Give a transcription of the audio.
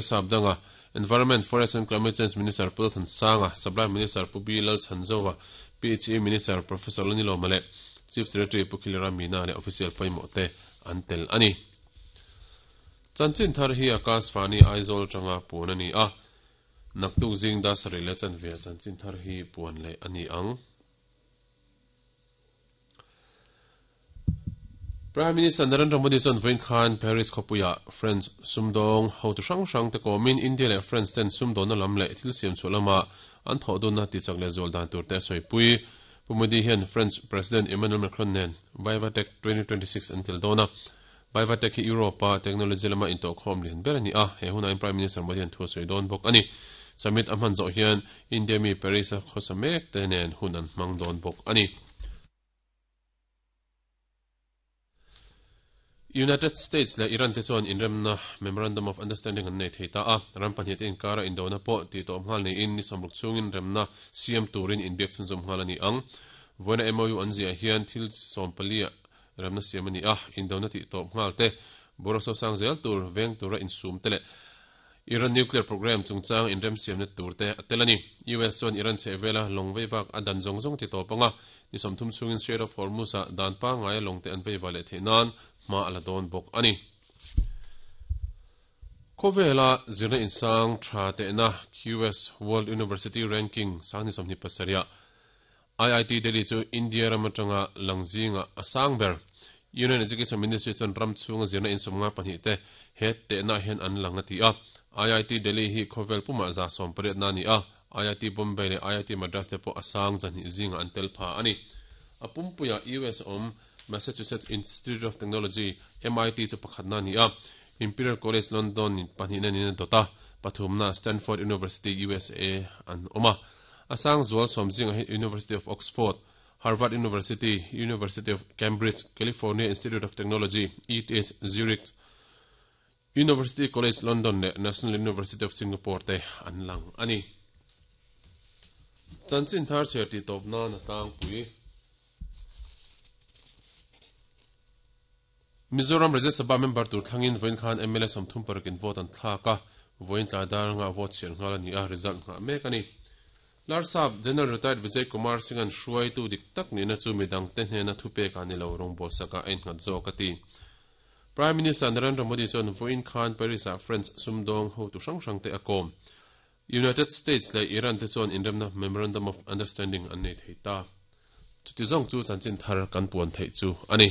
Sapdanga, Environment, Forest and Climate Change Minister Pu Lalthansanga, Supply Minister Pu B Lalchhanzova, PHE Minister Professor Lalnilawma leh Chief Secretary Pu Khilira Meena leh official pawimawh te an tel a ni. Chanchin thar hi Akashvani Aizawl atanga puan a ni a, naktuk zing dar sarih leh chanve ah chanchin thar hi puan leh a ni ang. Prime Minister Narendra Modi chuan vawiin khan Paris khawpuiah French sumdawng hotu hrang hrang te kawmin India leh France ten sumdawnna lam leh thil siam chhuah lama an thawh dunna tichak leh zual dan tur te a sawipui. Pu Modi hian French President Emmanuel Macron nen Vivatech 2026 an tel dawn a. Vivatech hi Europe-a technology lama intawhkhawm lian ber a ni a, he hunah hian Prime Minister Modi hian thu a sawi dawn bawk a ni. Summit a hman zawh hian India mi Paris-a khawsa mek te nen hun an hmang dawn bawk a ni. United States leh Iran te chuan inremna Memorandum of Understanding an nei thei ta a, ram pahnih te inkara indona pawh tih tawp nghal niin ni sawmruk chhungin remna siam turin inbiak chhunzawm nghal a ni ang. Vawiina MOU an ziah hian thil 14 ah remna siam a ni a, indona tih tawp nghal te, boruak sosang zel tur, veng tura insum te leh Iran nuclear program chungchang inremsiamna tur te a tel a ni. US chuan Iran chhehvela lawng veivak a dan zawng zawng ti tawp anga ni 30 chhungin Strait of Hormuz-ah dan pangngaia lawng te an veiva leh theih nan hma a la dawn bawk a ni. Khawvela zirna insang tha tehna QS World University Ranking sang ni 27 ah IIT Delhi chu India ram atanga lang zingah a sang ber. Union Education Ministry chuan ram chhunga zirna in 52 te he tehnaah hian an lang a ti a. IIT Delhi hi khawvel pumah 180 na a ni a, IIT Bombay leh IIT Madras te pawh a sang 200 zingah an tel pha a ni. A pumpuiah US awm Massachusetts Institute of Technology, MIT, chu pakhatna a ni a, Imperial College London in pahnihna niin a dawt a, pathumna Stanford University, USA an awm a. A sang zual sawm zingah hi University of Oxford, Harvard University, University of Cambridge, California Institute of Technology, ETH Zurich, University College London leh National University of Singapore te an lang a ni. Chanchin thar chhiar tih tawp nan a tlangpui. Mizoram Rajya Sabha member tur thlangin vawiin khan mla 36 in vote an thlak a, vawiin tlai dar anga vote chhiar nghal a ni a, result nghah mek a ni. Larsap General Retired Vijay Kumar Singh-a'n hruaitu dik tak nihna chu midangte hnena thupek ah ni lo rawngbawlsak ah a innghat zawk a ti. Prime Minister Narendra Modi chuan vawiin khan Paris-ah French sumdawng hotu hrang hrangte a kawm. United States leh Iran te chuan inremna Memorandum of Understanding an nei thei ta. Chuti zawng chu chanchin thar kan puan theih chu a ni.